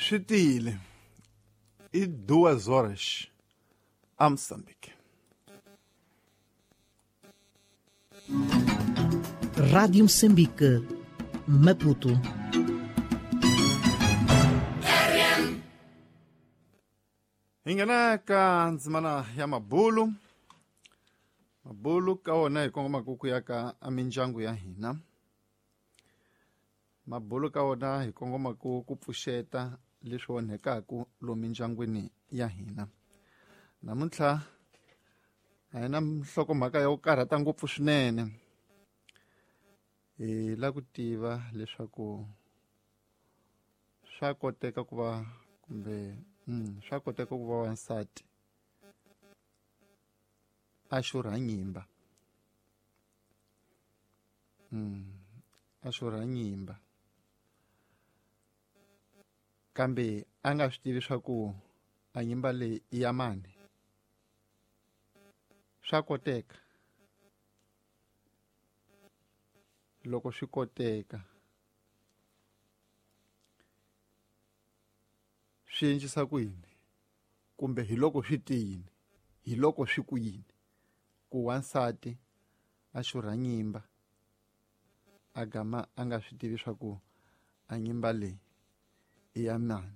Swi tiyile i duas horas a Moçambique. Rádio Moçambique, Maputo. Hi nghena ka ndzimana ya mabulu. Mabulu ka wona hi kongomaka ku ya ka mindyangu ya hina. Mabulu ka wona hi kongomaka ku pfuxeta leswi onhekaka lomu mindyangwini ya hina. Namuntlha a hi na nhlokomhaka ya ku karhata ngopfu swinene. Hi lava ku tiva leswaku swa koteka ku va kumbe swa koteka ku va wansati a xurha nyimba. A xurha nyimba kambe a nga swi tivi swa ku a nyimba leyi i ya mani. Swa koteka. Loko swi koteka swi endlisa ku yini kumbe hi loko swi te yini, hi loko swi ku yini ku wansati a xurha nyimba a gama a nga swi tivi swa ku a nyimba leyi i ya mani.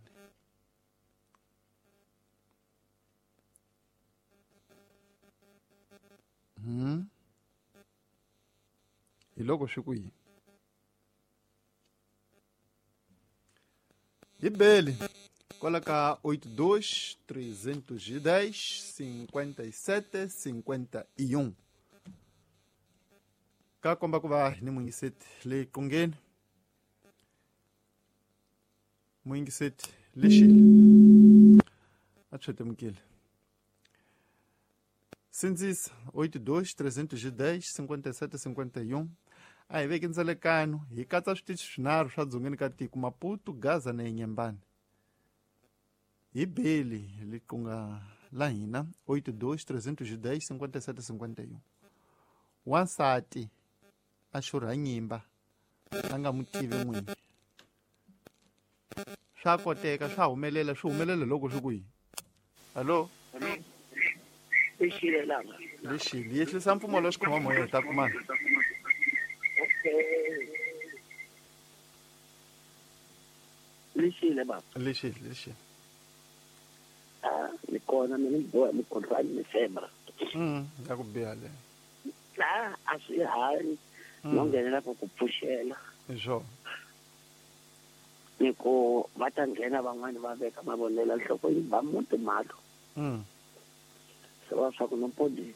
Hi loko swi ku yini. Hi beli kwala ka 82 310 57 51 ka komba ku va ni muyingiseti leyi qungeni. Muyingiseti lexi a tshwetemukile. Sindzisa 82 310 57 51. A hi veki ndzelekano hi katsa switichi swinharhu swa dzongeni ka tiko, Maputo, Gaza na Inhambane. Hi beli liqunga la hina 82 310 57 51. Wansati a xurha nyimba a nga mu tivi n'wini. Swa koteka, swa humelela, swi humelela loko swi ku yini. Hallo? Lexile langa. Lexile, yehlisa mpfumawulo wa xikhoma-moya hi ta kumana. Okay. Lexile baba. Lexile, lexile. Ah, ni kona mina ni boha mukhuhlwani ni fever. Ya ku biha le. Ah, a swi hanyi. No nghenela ku ku pfuxela. Hi swona. Ni ku va ta nghena van'wani va veka mavonelo nhloko yi ba muti malo. Se va swa ku no podi